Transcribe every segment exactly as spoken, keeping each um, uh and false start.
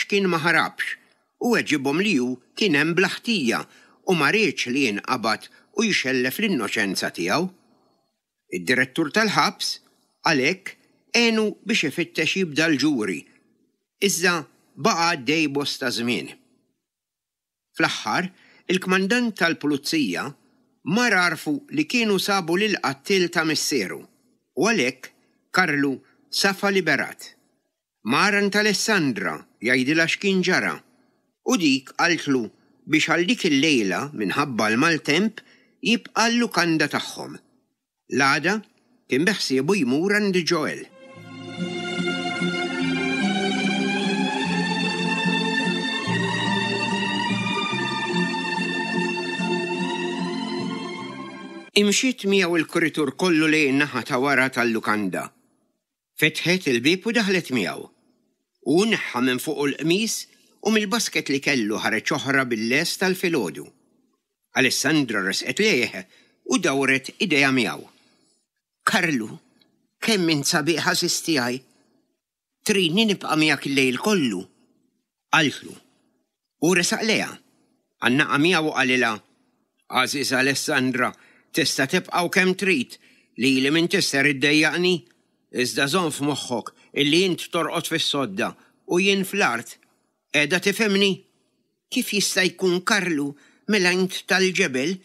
għax kien ma ħarabx u weġibhom li hu kien hemm bla ħtija u ma riedx li jinqabad u jxellef l-innoċenza tiegħu. Id-direttur tal-ħabs għalhekk għenu biex ifittex jibda l-ġuri, iżda baqa' għaddej bosta żmien. Fl-aħħar, il-kmandant tal-pulizija mar għarrfu li kienu sabu lill-qattiel ta' missieru u għalhekk Karlu safa liberat. Mar għand Alessandra jgħidilha x'kien ġara u dik qaltlu biex għal dik il-lejla minħabba l-maltemp jibqa' l-lukanda tagħhom. L-għada kien beħsiebu jmur għand Joel. Imxiet miegħu il-kuritur kollu lejn in-naħa ta' wara tal-lukanda. Fetħet il-bieb u daħlet miegħu. Hu neħħa minn fuqu l-qmis u mill-basket li kellu ħareġ oħra bil-lest tal-filgħodu. Alessandra resqet lejh u dawret idejha miegħu. Karlu, kemm int sabiħ għażiż tiegħi! Tridni nibqa' miegħek il-lejl kollu? Qaltlu. Hu resaq lejha, għannaqha miegħu u qalilha, Għażiża Alessandra, tista' tibqa' u kemm trid, lili m'intix ser iddejjaqni, iżda żomm f'moħħok illi int torqod fis-sodda u jien fl-art. Qiegħda tifhimni? Kif jista' jkun Karlu, mela int tal-ġebel?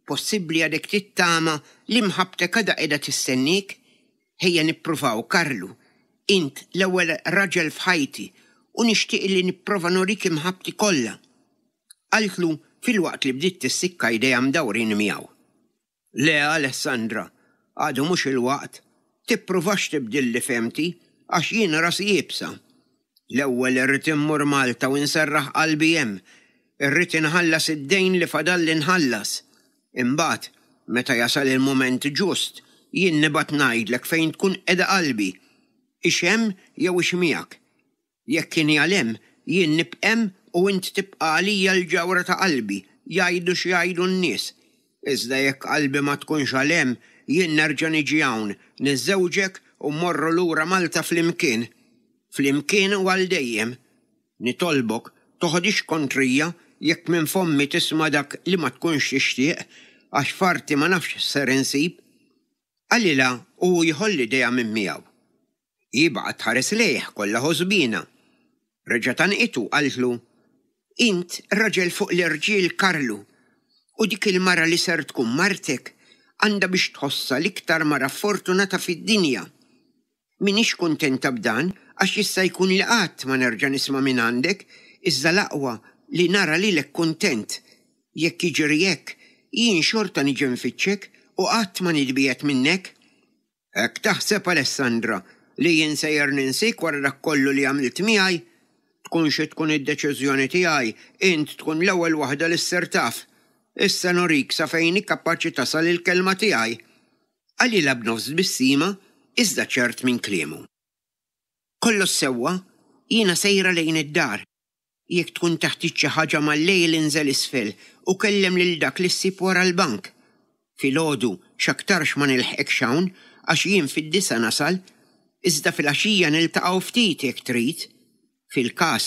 Possibbli għadek tittama li mħabbtek għadha qiegħda tistenniek? Ejja nippruvaw, Karlu. Int l-ewwel raġel f'ħajti u nixtieq li nipprova nurik imħabbti kollha. Qaltlu filwaqt li bdiet tissikka jdejha mdawrin miegħu. Le, Alessandra, għadu mhux il-waqt. Tippruvax tibdilli fehmti għax jien rasi iebsa. L-ewwel irrid immur Malta u nserraħ qalbi hemm. Irrid inħallas id-dejn li fadalli nħallas. Imbagħad, meta jasal il-mument ġust, jien nibgħat ngħidlek fejn tkun qiegħda qalbi. Hix hemm jew hix miegħek. Jekk inhi għal hemm, jien nibqa' hemm u int tibqa' għalija l-ġawhra ta' qalbi, jgħidu x'jgħidu n-nies. Iżda jekk qalbi ma tkunx għal hemm, jien nerġa' niġi hawn, niżżewġek u mmorru lura Malta flimkien. Flimkien u għal dejjem. Nitolbok, toħodhiex kontrija jekk minn fommi tisma' dak li ma tkunx tixtieq, għax f'arti ma nafx x'ser insib. Qalilha u hu jħoll idejha minn miegħu. Hi baqgħet tħares lejh kollha ħosbiena. Reġgħet għannqitu u qaltlu, Int raġel fuq l-irġiel Karlu, u dik il-mara li ser tkun martek għandha biex tħossha l-iktar mara ffortunata fid-dinja. M'iniex kuntenta b'dan għax jista' jkun li qatt ma nerġa' nisma' mingħandek, iżda l-aqwa li nara lilek kuntent. Jekk jiġri hekk, jien xorta niġi nfittxek u qatt ma nitbiegħed minnek. Hekk taħseb, Alessandra, li jien sejjer ninsiek wara dak kollu li għamilt miegħi? Tkun xi tkun id-deċiżjoni tiegħi, int tkun l-ewwel waħda li ssir taf. Issa nurik sa fejn hi kapaċi tasal il-kelma tiegħi. Qalilha b'nofs tbissima iżda ċert minn kliemu. Kollox sewwa, jiena sejra lejn id-dar. Jekk tkun teħtieġ xi ħaġa mal-lejl inżel isfel u kellem lil dak li ssib wara l-bank. Filgħodu x'aktarx ma nilħqekx hawn għax jien fid-disgħa nasal, iżda filgħaxija niltaqgħu ftit jekk trid. Fil-każ,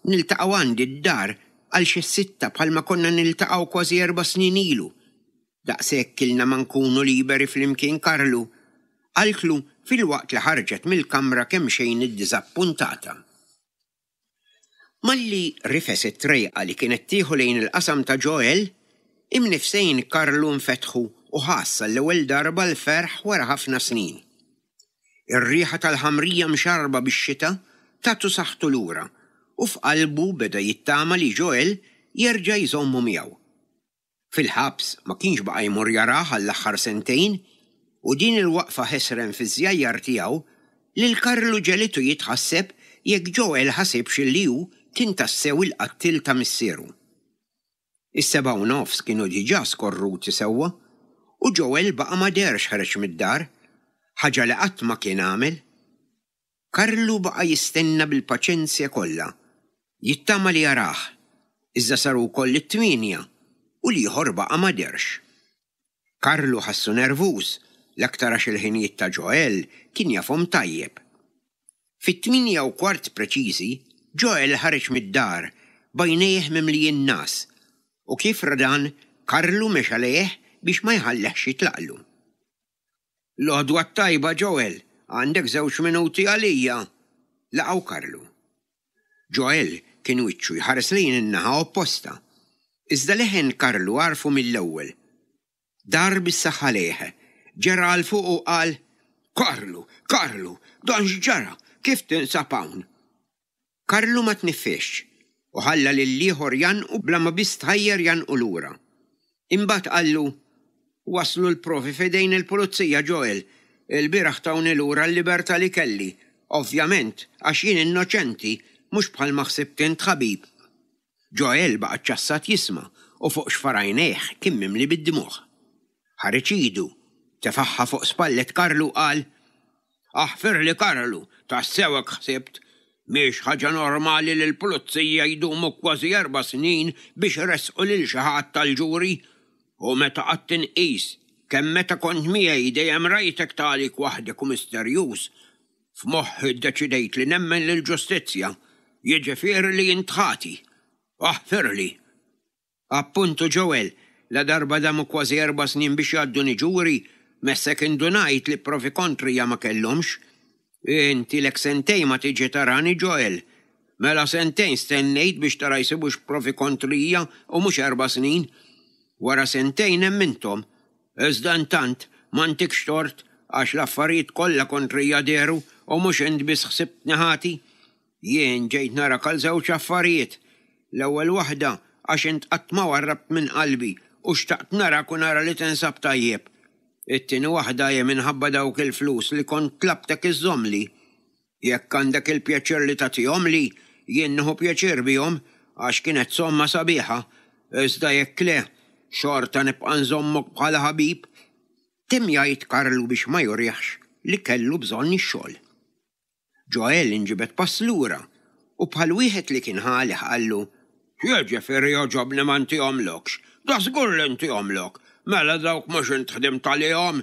niltaqgħu għandi d-dar għal xi s-sitta bħalma konna niltaqgħu kważi erba' snin ilu. Daqshekk ilna ma nkunu liberi flimkien Karlu, qaltlu filwaqt li ħarġet mill-kamra kemxejn iddiżappuntata. Malli rifes it-trejqa li kienet tieħu lejn il-qasam ta' Joel, imnifsejn Karlu nfetħu u ħass għall-ewwel darba l-ferħ wara ħafna snin. Ir-riħa tal-ħamrija mxarrba bix-xita tatu saħħtu lura u f'qalbu beda jittama li Joel jerġa' jżommu miegħu. Fil-ħabs ma kienx baqa' jmur jarah għall-aħħar sentejn u din il-waqfa ħesrem fiż-żjajjar tiegħu lil Karlu ġegħlitu jitħasseb jekk Joel ħasibx li hu kien tassew il-qattiel ta' missieru. Is-sebgħa u nofs kienu diġà skorruti sewwa u Joel baqa' ma deherx ħareġ mid-dar, ħaġa li qatt ma kien għamel. Karlu baqa' jistenna bil-paċenzja kollha, jittama li jarah, iżda saru wkoll it-tmienja u l-ieħor baqa' ma dehrx. Karlu ħassu nervuż, l-aktar għax il-ħinijiet ta' Joel kien jafhom tajjeb. Fit-tmienja u kwart preċiżi, Joel ħareġ mid-dar b'għajnejh mimlijin ngħas u kif ra dan Karlu mexa lejh biex ma jħallihx jitlaqlu. L-għodwa t-tajba, Joel, għandek żewġ minuti għalija, laqgħu Karlu. Joel kien wiċċu jħares lejn in-naħa opposta. Iżda leħen Karlu għarfu mill-ewwel. Dar bis-saħħa lejh, ġera għal fuq u qal, Karlu, Karlu, dan x'ġara, kif tinsab hawn? Karlu ma tniffisx u ħalla lill-ieħor jgħannqu bla ma biss tħajjar jgħannqu lura. Imbagħad qallu, Waslu l-provi f'idejn il-pulizija, Joel. Il-bieraħ tawni lura l-libertà li kelli. Ovvjament, għax jien innoċenti, mhux bħalma ħsibt int ħabib. Joel baqa' ċċassat jisma' u fuq xfar għajnejh kien mimli bid-dmugħ. Ħareġ idu, tefagħha fuq spallet Karlu u qal, Aħfirli Karlu, tassew hekk ħsibt. Mhix ħaġa normali li l-pulizija jdumu kważi erba' snin biex iressqu lil xi ħadd għall-ġuri. U meta qgħadt inqis kemm meta kont miegħi dejjem rajtek tagħlik waħdek u misterjuż, f'moħħi ddeċidejt li nemmen lill-ġustizzja, jiġifieri li int ħati. Aħfirli. Appuntu Joel, ladarba damu kważi erba' snin biex jgħadduni ġuri, messek indunajt li provi kontrija ma kellhomx. Int ilek sentejn ma tiġi tarani Joel. Mela sentejn stennejt biex tara jsibux provi kontrija u mhux erba' snin. Wara sentejn emminthom. Iżda intant ma ntikx tort għax l-affarijiet kollha kontrija dehru u mhux int biss ħsibtni ħati. Jien ġejt narak għal żewġ affarijiet. L-ewwel waħda għax int qatt ma warrabt minn qalbi u xtaqt narak u nara li tinsab tajjeb. It-tieni waħda hi minħabba dawk il-flus li kont tlabtek iżżommli. Jekk għandek il-pjaċir li tagħtihomli, jien nieħu pjaċir bihom għax kienet somma sabiħa, iżda jekk le, xorta nibqa' nżommok bħala ħabib. Temm jgħid Karlu biex ma jurihx li kellu bżonn ix-xogħol. Joel inġibed pass lura u bħal wieħed li kien ħalih qallu, X'jiġifieri jogħġobni ma ntihomlokx? Da żgur li ntihomlok! Mela dawk mhux int ħdimt għalihom?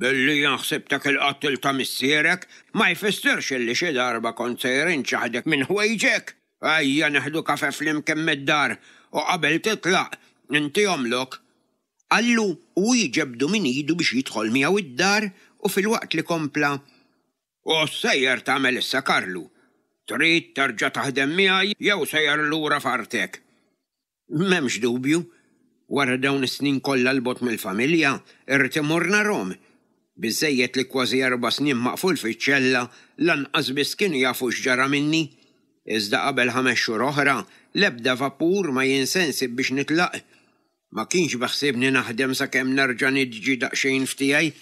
Billi jien ħsibtek il-qattiel ta' missierek ma jfissirx illi xi darba kont sejjer inċaħħdek minn ħwejġek! Ejja nieħdu kafè flimkien mid-dar u qabel titlaq intihomlok. Qallu u hu jġebbdu minn idu biex jidħol miegħu id-dar u filwaqt li kompla, U x'sejjer tagħmel issa Karlu? Trid terġa' taħdem miegħi jew sejjer lura f'artek? M'hemmx dubju, wara dawn is-snin kollha 'l bogħod mill-familja, irrid immur narhom. Biżżejjed li kważi erba' snin maqful fiċ-ċella lanqas biss kienu jafu x'ġara minni. Iżda qabel ħames xhur oħra, l-ebda vapur ma jien se nsib biex nitlaq. Ma kienx beħsiebni naħdem sakemm nerġa' niġi daqsxejn f'tiegħi.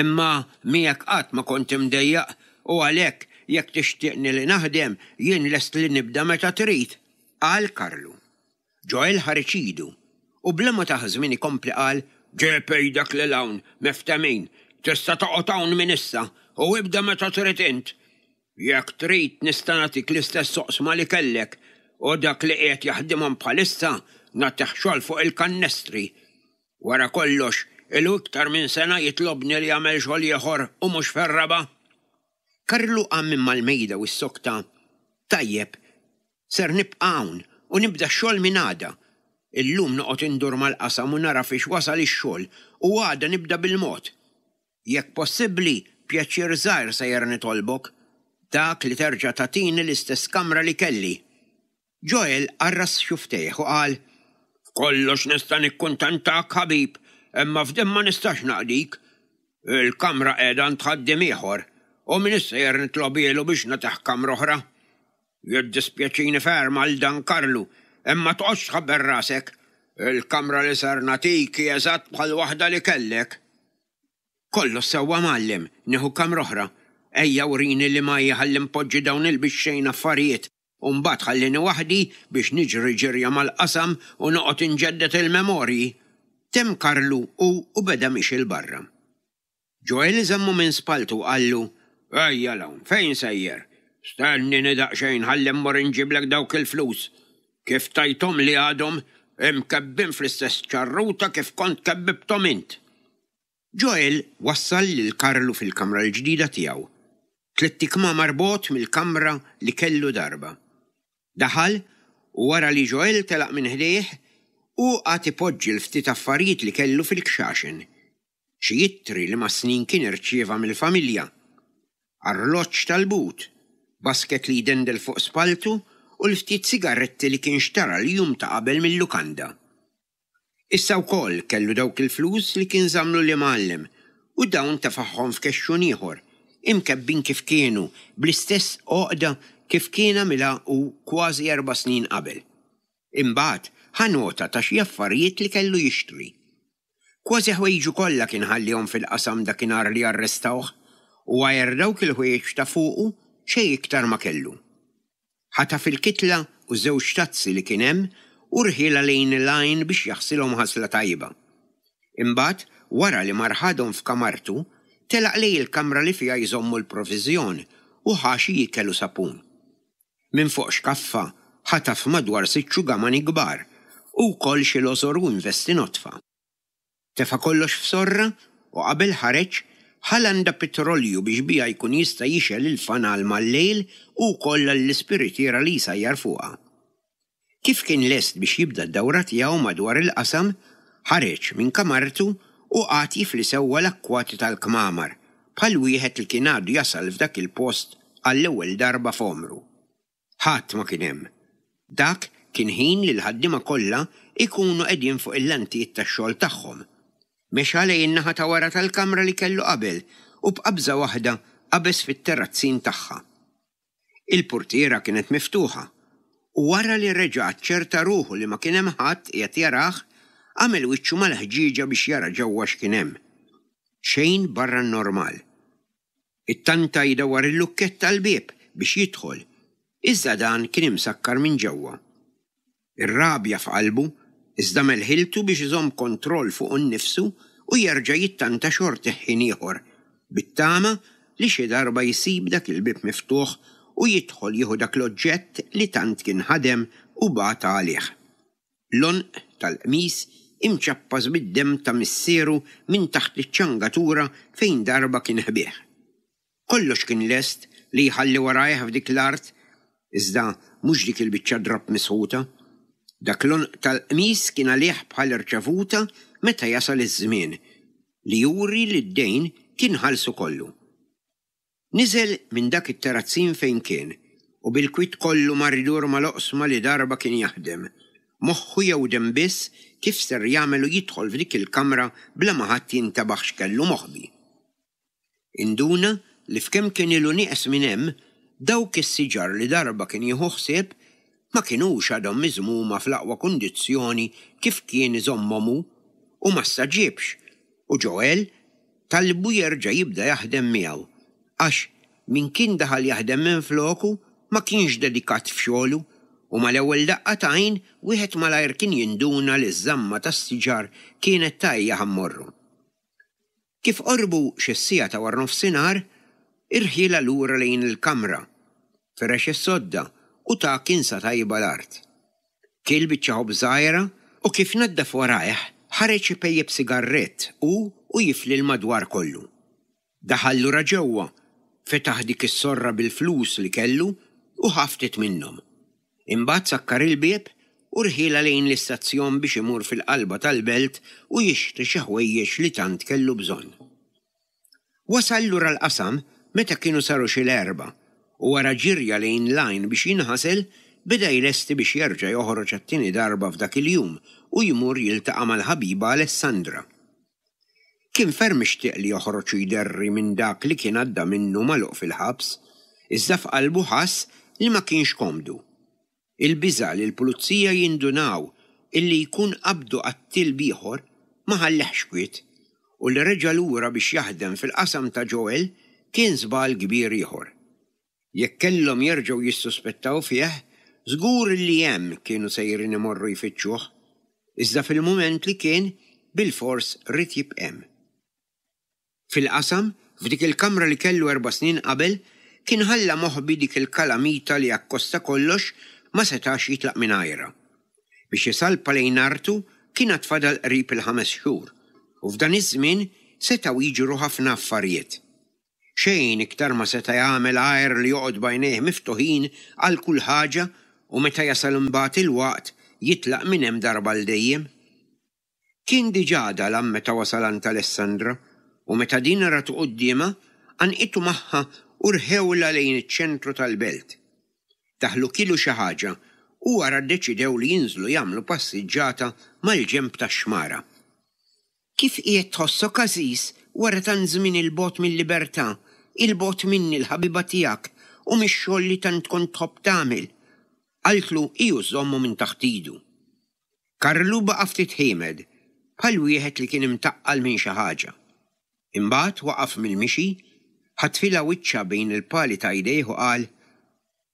Imma miegħek qatt ma kont imdejjaq u għalhekk jekk tixtieqni li naħdem, jien lest li nibda meta trid, qal Karlu. Joel ħareġ idu u bla ma tah żmien ikompli qal, Ġib idek lil hawn, miftehmin, tista' toqgħod hawn minn issa u ibda meta trid int. Jekk trid nista' nagħtik l-istess oqsma li kellek u dak li qiegħed jaħdimhom bħalissa nagħtih xogħol fuq il-kannestri. Wara kollox, ilu iktar minn sena jitlobni li jagħmel xogħol ieħor u mhux fir-raba'. Karlu qam minn mal-mejda u ssokta, Tajjeb, ser nibqa' hawn u nibda x-xogħol minn għada. Illum noqgħod indur mal-qasam u nara fiex wasal ix-xogħol u għada nibda bil-mod. Jekk possibbli, pjaċir żgħir sejjer nitolbok, dak li terġa' tagħtini l-istess kamra li kelli. Joel qarras xufftejh u qal, F'kollox nista' nikkuntentak, ħabib, imma f'din ma nistax naqdik. Il-kamra qiegħda għand ħaddiem ieħor, u m'iniex sejjer nitlobhielu biex nagħtih kamra oħra. Jiddispjaċini ferm għal dan Karlu, imma toqgħodx tħabbel rasek. Il-kamra li ser nagħtik hi eżatt bħal waħda li kellek. Kollox sewwa mgħallem, nieħu kamra oħra. Ejja urini liema hi ħalli npoġġi dawn il-bixxejn affarijiet u mbagħad ħallini waħdi biex niġri ġirja mal-qasam u noqgħod inġedded il-memorji. Temm Karlu hu u beda miexi 'l barra. Joel żammu minn spalltu u qallu, Ejja 'l hawn, fejn sejjer? Stennini daqsxejn ħalli mmur inġiblek dawk il-flus. Kif tajthomli għadhom, imkebbin fl-istess ċarruta kif kont kebbibthom int. Joel wassal lil Karlu fil-kamra l-ġdida tiegħu, tlett ikmamar bogħod mill-kamra li kellu darba. Daħal u wara li Joel telaq minn ħdejh, hu qagħad ipoġġi l-ftit affarijiet li kellu fil-kxaxen. Xi ittri li mas-snin kien irċieva mill-familja, arloġġ tal-but, basket li jdendel fuq spalltu u l-ftit sigaretti li kien xtara l-jum ta' qabel mil-lukanda. Issa wkoll kellu dawk il-flus li kien żammlu l-imgħallem u dawn tefagħhom f'kexxun ieħor, imkebbin kif kienu, bl-istess għoqda kif kien għamilha hu kważi erba' snin qabel. Imbagħad ħa nota ta' xi affarijiet li kellu jixtri. Kważi ħwejġu kollha kien ħallihom fil-qasam dakinhar li arrestawh u għajr dawk il-ħwejjeġ ta' fuqu xejn iktar ma kellu. Ħataf il-kitla u żewġ tazzi li kien hemm u rħielha lejn il-għajn biex jaħsilhom ħasla tajba. Imbagħad, wara li mar ħadhom f'kamartu, telaq lejn il-kamra li fiha jżommu l-proviżjon u ħa xi ikel u sapun. Minn fuq xkaffa ħataf madwar sitt xugamani kbar u wkoll xi lożor u investi nodfa. Tefa' kollox f'sorra u qabel ħareġ, ħa landa pitrolju biex biha jkun jista' jixgħel il-fanal mal-lejl u wkoll għall-ispiritiera li jsajjar fuqha. Kif kien lest biex jibda d-dawra tiegħu madwar il-qasam, ħareġ minn kamartu u qagħad jifli sewwa l-akkwati tal-kmamar, bħal wieħed li kien għadu jasal f'dak il-post għall-ewwel darba f'għomru. Ħadd ma kien hemm. Dak kien ħin li l-ħaddiema kollha jkunu qegħdin fuq il-lantijiet tax-xogħol tagħhom. Mexa lejn in-naħa ta' wara tal-kamra li kellu qabel u b'qabża waħda qabeż fit-terrazzin tagħha. Il-purtiera kienet miftuħa u wara li reġa' aċċerta ruħu li ma kien hemm ħadd qiegħed jarah, għamel wiċċu mal-ħġieġa biex jara ġewwa x'kien hemm. Xejn barra n-normal. Ittanta jdawwar il-lukkett tal-bieb biex jidħol, iżda dan kien imsakkar minn ġewwa. Ir-rabja f'qalbu, iżda għamel ħiltu biex iżomm kontroll fuqu nnifsu u jerġa' jittanta xortih ħin ieħor, bit-tama li xi darba jsib dak il-bieb miftuħ u jidħol jieħu dak l-oġġett li tant kien ħadem u bata għalih. L-għonq tal-qmis imċappas bid-demm ta' missieru minn taħt iċ-ċangatura fejn darba kien ħbieh. Kollox kien lest li jħalli warajh f'dik l-art, iżda mhux dik il-biċċa drapp misħuta. Dak l-għonq tal-qmis kien għalih bħal irċevuta meta jasal iż-żmien li juri li d-dejn kien ħallsu kollu. Niżel minn dak it-terrazzin fejn kien u bil-kwiet kollu mar idur mal-oqsma li darba kien jaħdem. Moħħu jewdem biss kif ser jagħmel u jidħol f'dik il-kamra bla ma ħadd jintebaħ x'kellu moħbi. Induna li f'kemm kien ilu nieqes minn hemm, dawk is-siġar li darba kien jieħu ħsieb ma kinux għadhom miżmuma fl-aqwa kundizzjoni kif kien iżommhom hu u ma staġibx u Joel talbu jerġa' jibda jaħdem miegħu għax min kien daħal jaħdem minfloku ma kienx dedikat f'xogħlu u mal-ewwel daqqa t'għajn wieħed malajr kien jinduna li ż-żamma tas-siġar kienet ta' ejja ħammorru. Kif qorbu xi siegħa ta' waranofsinhar, irħielha lura lejn il-kamra, ferex is-sodda u ta kinsa tajba l-art. Kiel biċċa ħobż żgħira u kif naddaf warajh ħareġ ipejjep sigarrett hu u jifli l-madwar kollu. Daħal lura ġewwa, fetaħ dik is-sorra bil-flus li kellu u ħa ftit minnhom. Imbagħad sakkar il-bieb u rħielha lejn l-istazzjon biex imur fil-qalba tal-belt u jixtri xi ħwejjeġ li tant kellu bżonn. Wasal lura l-qasam meta kienu saru xi l-erbgħa u wara ġirja lejn l-għajn biex jinħasel beda jlesti biex jerġa' joħroġ għat-tieni darba f'dak il-jum u jmur jiltaqa' mal-ħabiba Alessandra. Kien ferm ixtieq li joħroġ u jderri minn dak li kien għadda minnu magħluq fil-ħabs, iżda f'qalbu ħass li ma kienx komdu. Il-biża' li l-pulizija jindunaw illi jkun qabdu qattiel b'ieħor ma ħallehx kwiet u li reġa' lura biex jaħdem fil-qasam ta' Joel kien żball kbir ieħor. Jekk kellhom jerġgħu jissuspettaw fih, żgur li hemm kienu sejrin imorru jfittxuh, iżda fil-mument li kien bilfors ried jibqa' hemm. Fil-qasam, f'dik il-kamra li kellu erba' snin qabel, kien ħalla moħbi dik il-kalamita li akkosta kollox ma setax jitlaq mingħajrha. Biex isalpa lejn artu kien għad fadal qrib il-ħames xhur u f'dan iż-żmien setgħu jiġru ħafna affarijiet. Xejn iktar ma seta' jagħmel għajr li joqgħod b'għajnejh miftuħin għal kull ħaġa u meta jasal imbagħad il-waqt jitlaq minn hemm darba għal dejjem. Kien diġà dalam meta wasal għand Alessandra u meta din ratu quddiemha għannqitu magħha u rħewlha lejn iċ-ċentru tal-belt. Daħlu kielu xi ħaġa u wara ddeċidew li jinżlu jagħmlu passiġġata mal-ġenb tax-xmara. Kif qiegħed tħossok għażiż wara tant żmien 'il bogħod mil-libertà, 'il bogħod minni l-ħabiba tiegħek u mix-xogħol li tant kont tħobb tagħmel? Qaltlu hi u żżommu minn taħt idu. Karlu baqa' ftit ħiemed, bħal wieħed li kien imtaqqal minn xi ħaġa. Imbagħad waqaf mill-mixi, ħatfilha wiċċha bejn il-pali ta' jdejh u qal,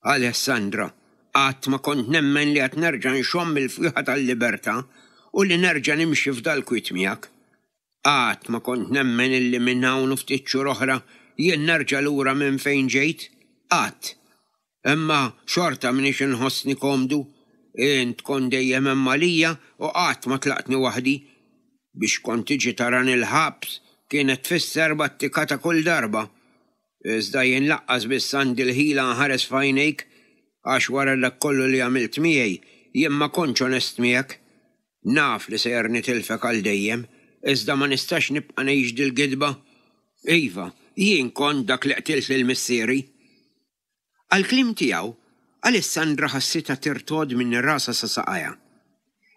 Alessandra, qatt ma kont nemmen li għad nerġa' nxomm il-fwieħa tal-libertà u li nerġa' nimxi f'dal-kwiet miegħek. Qatt ma kont nemmen illi minn hawn u ftit xhur oħra jien nerġa' lura minn fejn ġejt. Qatt. Imma xorta m'iniex inħossni komdu. Int kont dejjem hemm għalija u qatt ma tlaqtni waħdi. Biex kont tiġi tarani l-ħabs kienet tfisser battikata kull darba. Iżda jien laqqas biss għandi l-ħila nħares f'għajnejk għax wara dak kollu li għamilt miegħi jien ma kontx onest miegħek. Naf li sejjer nitilfek għal dejjem, iżda ma nistax nibqa' ngħix dil-gidba. Iva, jien kont dak li qtilt lil missieri. Għall-kliem tiegħu, Alessandra ħassitha tirtogħod minn rasha sa saqajha.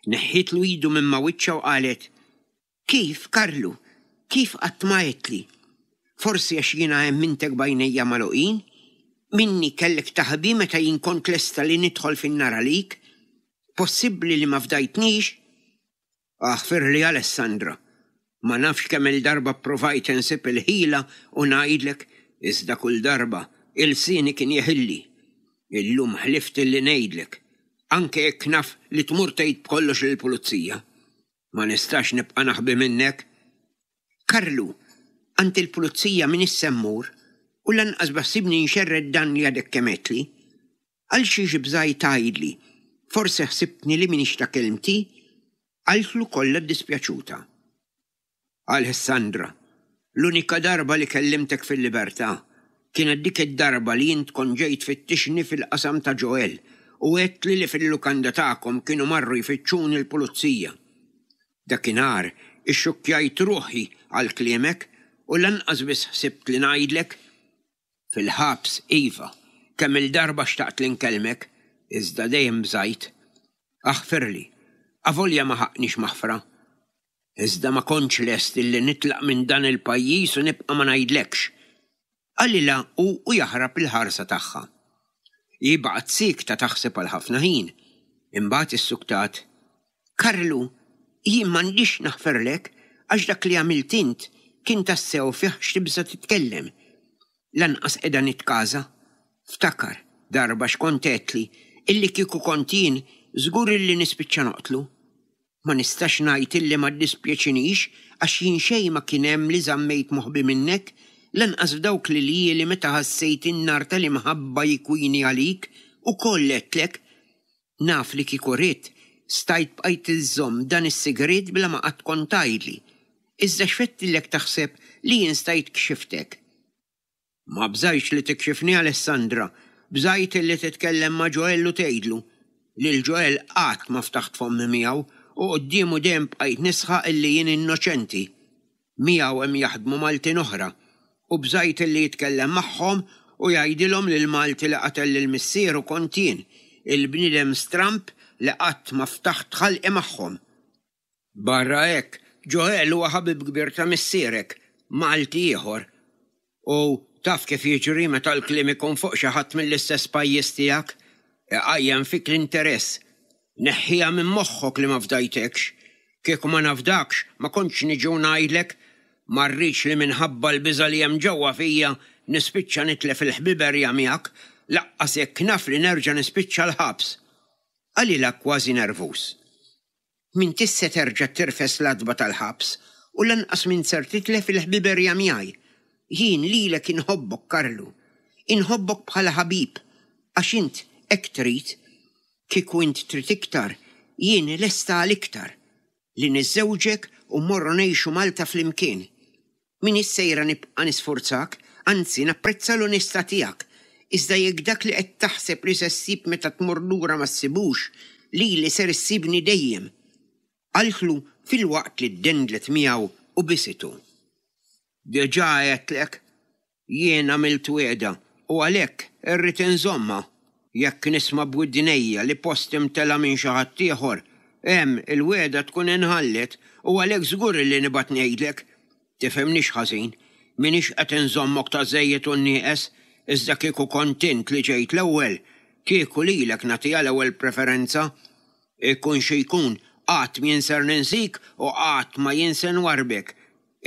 Neħħietlu idu minn ma' wiċċha u qalet, Kif, Karlu, kif qatt ma għedtli? Forsi għax jiena emmintek b'għajnejja magħluqin? Minni kellek taħbi meta jien kont lesta li nidħol fin-nar għalik? Possibbli li ma fdajtnix? Aħfirli Alessandra. Ma nafx kemm-il darba ppruvajt insib il-ħila u ngħidlek, iżda kull darba ilsieni kien jeħilli. Illum ħlift illi ngħidlek, anke jekk naf li tmur tgħid b'kollox lill-pulizija. Ma nistax nibqa' naħbi minnek. Karlu, għand il-pulizija m'iniex se mmur u lanqas beħsiebni nxerred dan li għadek kemm għedtli. Għal xiex bżajt tgħidli? Forsi ħsibtni li m'iniex ta' kelmti? Qaltlu kollha ddispjaċuta. Alessandra, l-unika darba li kellimtek fil-libertà kienet dik id-darba li int kont ġejt tfittixni fil-qasam ta' Joel u għedtli li fil-lukanda tagħkom kienu marru jfittxuni l-pulizija. Dakinhar ixxukkjajt ruħi għal kliemek u lanqas biss ħsibt li ngħidlek. Fil-ħabs, iva, kemm-il darba xtaqt li nkellmek, iżda dejjem bżajt. Aħfirli, avolja ma ħaqqnix maħfra. Iżda ma kontx lest illi nitlaq minn dan il-pajjiż u nibqa' ma ngħidlekx. Qalilha hu u jaħrab il-ħarsa tagħha. Hi baqgħet siekta taħseb għal ħafna ħin. Imbagħad issuktat, Karlu, jien m'għandix naħferlek għax dak li għamilt int kien tassew fih x'tibża' titkellem. Lanqas qiegħda nitkaża. Ftakar, darba x'kont għedtli, illi kieku kont jien, żgur illi nispiċċa noqtlu. Ma nistax ngħid illi ma ddispjaċinix għax jien xejn ma kien hemm li żammejt moħbi minnek, lanqas f'dawk l-iljieli meta ħassejt in-nar tal-imħabba jikwini għalik, ukoll għedtlek. Naf li kieku ridt, stajt bqajt iżżomm dan is-sigriet bla ma qatt kont tgħidli. Iżda x'fettillek taħseb li jien stajt kxiftek? Ma bżajtx li tikxifni Alessandra, bżajt illi titkellem ma' Joel u tgħidlu. Lil Joel qatt ma ftaħt fommi miegħu u quddiemu dejjem bqajt nisħaq illi jien innoċenti. Miegħu hemm jaħdmu Maltin oħra u bżajt illi jitkellem magħhom u jgħidilhom li l-Malti li qatel lil missieru kont jien, il-bniedem stramb li qatt ma ftaħt ħalqi magħhom. Barra hekk, Joel huwa ħabib kbir ta' missierek, Malti ieħor. U taf kif jiġri meta l-kliem ikun fuq xi ħadd mill-istess pajjiż tiegħek, iqajjem fik l-interess. Neħħiha minn moħħok li ma fdajtekx. Kieku ma nafdakx, ma kontx niġi u ngħidlek. Ma rridx li minħabba l-biża' li hemm ġewwa fija nispiċċa nitlef il-ħbiberja miegħek, laqqas jekk naf li nerġa' nispiċċa l-ħabs. Qalilha kważi nervuż. M'intix se terġa' tirfes l-għatba tal-ħabs u lanqas m'int ser titlef il-ħbiberja miegħi. Jien lilek inħobbok, Karlu. Inħobbok bħala ħabib, għax int hekk trid. Kieku int trid iktar, jien lesta għal iktar. Li niżżewġek u mmorru ngħixu Malta flimkien. M'iniex sejra nibqa' nisfurzak, anzi napprezza l-onestà tiegħek, Iżda jekk dak li qed taħseb li se ssib meta tmur lura ma ssibux, lili ser issibni dejjem. Qaltlu filwaqt li ddendlet miegħu u bisitu. Diġà għedtlek, jien għamilt wegħda u għalhekk irrid inżommha. Jekk nisma' b'widnejja li posti mtela minn xi ħadd ieħor, hemm il-wegħda tkun inħallet u għalhekk żgur li nibgħat ngħidlek. Tifhimnix ħażin, m'iniex qed inżommok ta' żejjed u nieqes, iżda kieku kont int li ġejt l-ewwel, kieku lilek nagħtiha l-ewwel preferenza. Ikun xi jkun, qatt m'jien ser ninsik u qatt ma jien se nwarrbek.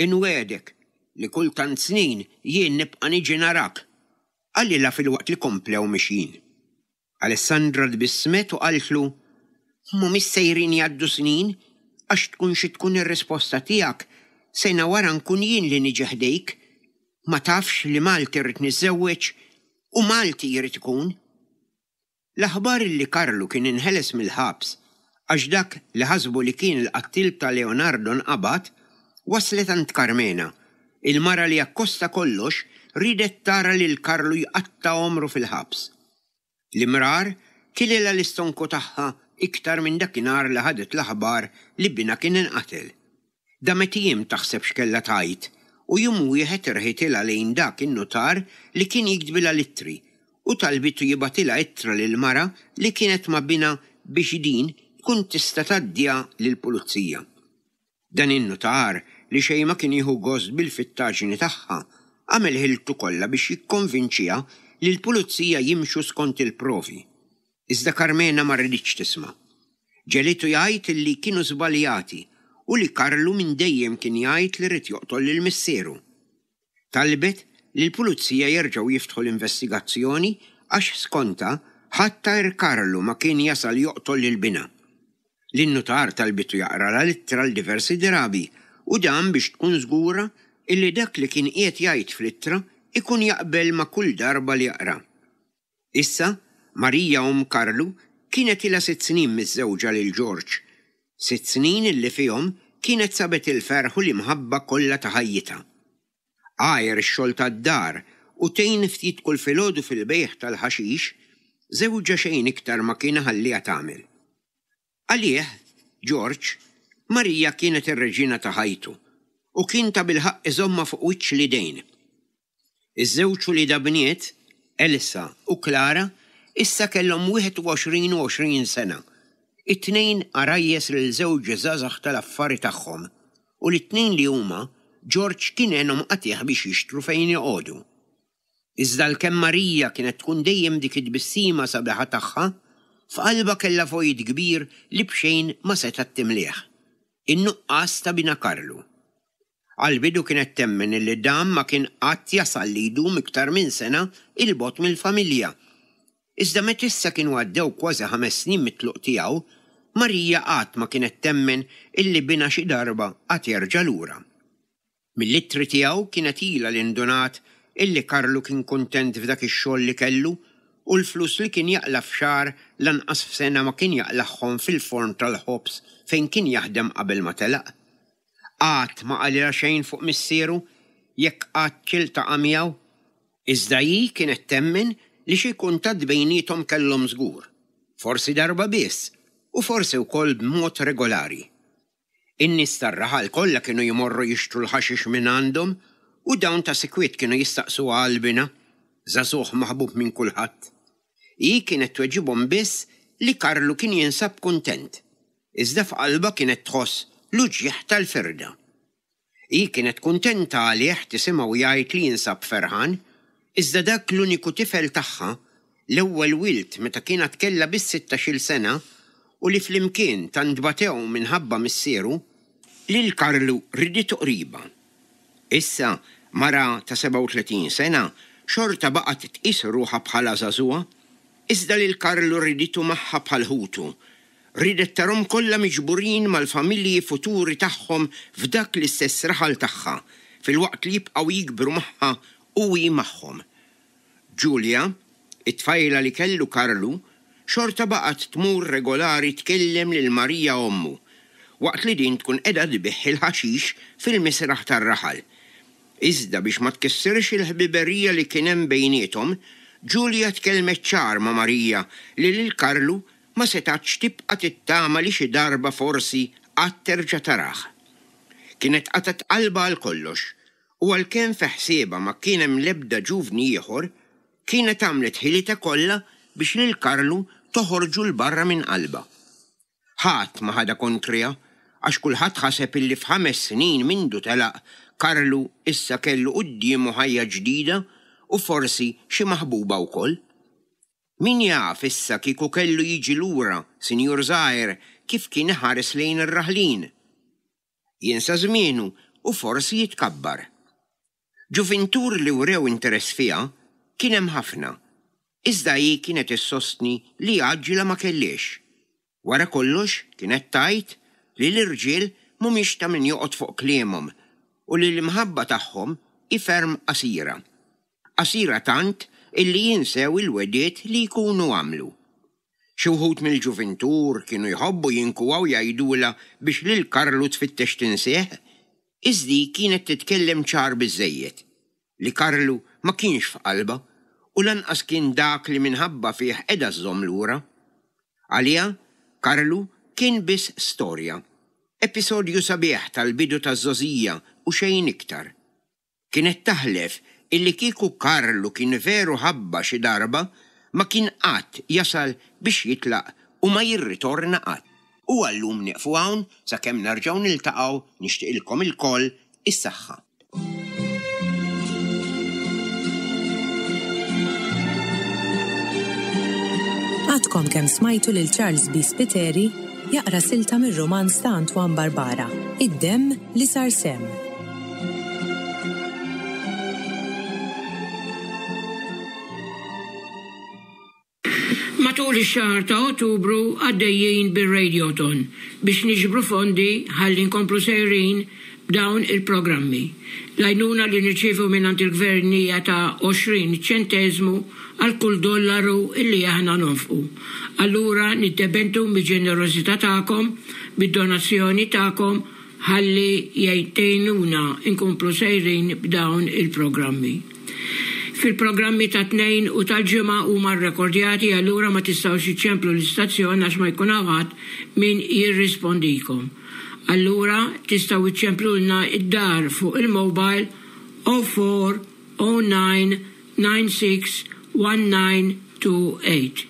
Inwiegħdek li kull tant snin jien nibqa' niġi narak. Qalilha filwaqt li komplew mixjin. Alessandra tbissmet u qaltlu, Mhumiex sejrin jgħaddu snin, għax tkun xi tkun ir-risposta tiegħek, sena wara nkun jien li niġi ħdejk. Ma tafx li Malti rrid niżżewweġ u Malti jrid ikun. L-aħbar li Karlu kien inħeles mill-ħabs għax dak li ħasbu li kien il-qattil ta' Leonardo nqabad, waslet għand Karmena, il-mara li akkosta kollox riedet tara lil Karlu jqatta' għomru fil-ħabs. L-imrar kililha l-istonku tagħha iktar minn dakinhar li ħadet l-aħbar li binha kien inqatel. Damet ijiem taħseb x'kellha tgħid u jum wieħed irħitilha lejn dak in-nutar li kien jiktbilha l-ittri u talbitu jibgħatilha ittra lill-mara li kienet ma' binha biex din tkun tista' tgħaddiha lill-pulizija. Dan in-nutar, li xejn ma kien jieħu gost bil-fittaġni tagħha, għamel ħiltu kollha biex jikkonvinċiha li l-pulizija jimxu skont il-provi. Iżda Karmena ma riditx tisma'. Ġegħlitu jgħid li kienu żbaljati u li Karlu minn dejjem kien jgħid li ried joqtol lil missieru. Talbet li l-pulizija jerġgħu jiftħu l-investigazzjoni għax skontha ħadd għajr Karlu ma kien jasal joqtol lil binha. Lin-nutar talbitu jaqralha l-ittra għal diversi drabi u dan biex tkun żgura illi dak li kien qiegħed jgħid fl-ittra ikun jaqbel ma' kull darba li jaqra. Issa, Marija omm Karlu kienet ilha sitt snin miżżewġa lil Ġorġ. Sitt snin illi fihom kienet sabet il-ferħ u l-imħabba kollha ta' ħajjitha. Għajr ix-xogħol tad-dar u tgħin ftit kull filgħodu fil-bejgħ tal-ħaxix, żewġha xejn iktar ma kien iħalliha tagħmel. Għalih, Ġorġ, Marija kienet ir-reġina ta' ħajtu u kien tabilħaqq iżommha fuq wiċċ l-idejn. Iż-żewġ uliedha bniet, Elsa u Clara, issa kellhom wieħed u għoxrin u għoxrin sena, it-tnejn għarajjes lil żewġ żgħażagħ tal-affari tagħhom u li t-tnejn li huma Ġorġ kien għenhom qatigħ biex jixtru fejn joqogħdu. Iżda għalkemm Marija kienet tkun dejjem dik it-tbissima sabiħa tagħha, f'qalbha kellha vojt kbir li b'xejn ma setgħet timlieh, in-nuqqas ta' binha Karlu. Għall-bidu kienet temmen illi dan ma kien qatt jasal li jdum iktar minn sena 'il bogħod mill-familja. Iżda meta issa kienu għaddew kważi ħames snin mit-tluq tiegħu, Marija qatt ma kienet temmen illi binha xi darba għad jerġa' lura. Mill-ittri tiegħu kienet ilha li ndunat illi Karlu kien kuntent f'dak ix-xogħol li kellu u l-flus li kien jaqla' f'xahar lanqas f'sena ma kien jaqlagħhom fil-forn tal-ħobż fejn kien jaħdem qabel ma telaq. Qatt ma qalilha xejn fuq missieru jekk qattx iltaqa' miegħu. Iżda hi kienet temmen li xi kuntatt bejniethom kellhom żgur, forsi darba biss u forsi wkoll b'mod regolari. In-nies tar-raħal kollha kienu jmorru jixtru l-ħaxix mingħandhom u dawn ta' sikwit kienu jistaqsuha għal binha, żagħżugħ maħbub minn kulħadd. Hi kienet tweġibhom biss li Karlu kien jinsab kuntent, iżda f'qalbha kienet tħoss l-uġigħ tal-firda. Hi kienet kuntenta għalih tisimgħu jgħid li jinsab ferħan, iżda dak l-uniku tifel tagħha, l-ewwel wild meta kien għad kellha biss sittax-il sena u li flimkien tant batew minħabba missieru, lil Karlu riditu qribha. Issa, mara ta' sebgħa u tletin sena, xorta baqgħet tqis ruħha bħala żagħżugħa, iżda lil Karlu riditu magħha bħal ħutu. Riedet tarhom kollha miġburin mal-familji futuri tagħhom f'dak l-istess raħal tagħha, filwaqt li jibqgħu jikbru magħha u hi magħhom. Julia, it-tfajla li kellu Karlu, xorta baqgħet tmur regolari tkellem lil Marija ommu, waqt li din tkun qiegħda tbigħ il-ħaxix fil-misraħ tar-raħal. Iżda biex ma tkissirx il-ħbiberija li kien hemm bejniethom, Ġulja tkellmet ċar ma' Marija li lil Karlu ma setgħetx tibqa' tittama li xi darba forsi qatt terġa' tarah. Kienet qatgħet qalbha għal kollox u għalkemm fi ħsiebha ma kien hemm l-ebda ġuvni ieħor, kienet għamlet ħilitha kollha biex lil Karlu toħorġu 'l barra minn qalbha. Ħadd ma ħadha kontriha għax kulħadd ħaseb illi f'ħames snin mindu telaq Karlu issa kellu quddiemu ħajja ġdida u forsi xi maħbuba wkoll. Min jaf issa kieku kellu jiġi lura sinjur żgħir kif kien iħares lejn ir-raħlin. Jinsa żmienu u forsi jitkabbar. Ġuvintur li wrew interess fiha kien hemm ħafna, iżda hi kienet issostni li għaġġla ma kellhiex. Wara kollox kienet tgħid li l-irġiel mhumiex ta' min joqgħod fuq kliemhom u li l-imħabba tagħhom hi ferm qasira. Qasira tant illi jinsew il-wegħdiet li jkunu għamlu. Xi wħud mill-ġuvintur kienu jħobbu jinkuwaw jgħidulha biex lil Karlu tfittex tinsih, iżda hi kienet titkellem ċar biżżejjed li Karlu ma kienx f'qalbha u lanqas kien dak li minħabba fih qiegħda żżomm lura. Għaliha, Karlu kien biss storja, episodju sabiħ tal-bidu taż-żgħożija u xejn iktar. Kienet taħlef illi kieku Karlu kien veru ħabbha xi darba ma kien qatt jasal biex jitlaq u ma jirritorna qatt. U għal-lum nieqfu hawn sakemm nerġgħu niltaqgħu nixtieqilkom ilkoll is-saħħa. Għadkom kemm smajtu lil Charles B. Spiteri jaqra silta mir-romanz ta' Antoine Barbara, Id-demm li sar semm. Matul ix-xahar ta' Ottubru għaddejjin bir-Radiothon biex niġbru fondi ħalli nkomplu sejrin b'dawn il-programmi. L-għajnuna li nirċievu mingħand il-gvern hija ta' għoxrin ċenteżmu għal kull dollaru illi aħna nonfqu. Allura niddependu mill-ġenerożità tagħkom, bid-donazzjoni tagħkom ħalli jgħinuna nkomplu sejrin b'dawn il-programmi. Fil-programmi ta' tnejn u tal-ġimgħa huma rrekordjati, allura ma tistgħux iċċemplu l-istazzjon għax ma jkun hawn ħadd min jirrispondikom. Allura tistgħu iċċemplulna id-dar fuq il-mobile oh four oh nine nine six one nine two eight.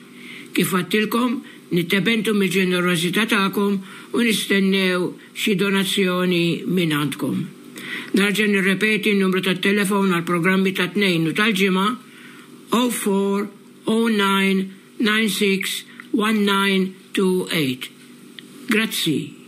Kif għattilkom, nittebentu mill-ġenerożità tagħkom u nistennew xi donazzjoni minn għandkom. Narġa' nirrepeti n-numru tat-telefon għal programmi ta' tnejn u tal-ġimgħa oh four oh nine nine six one nine two eight. Grazzi.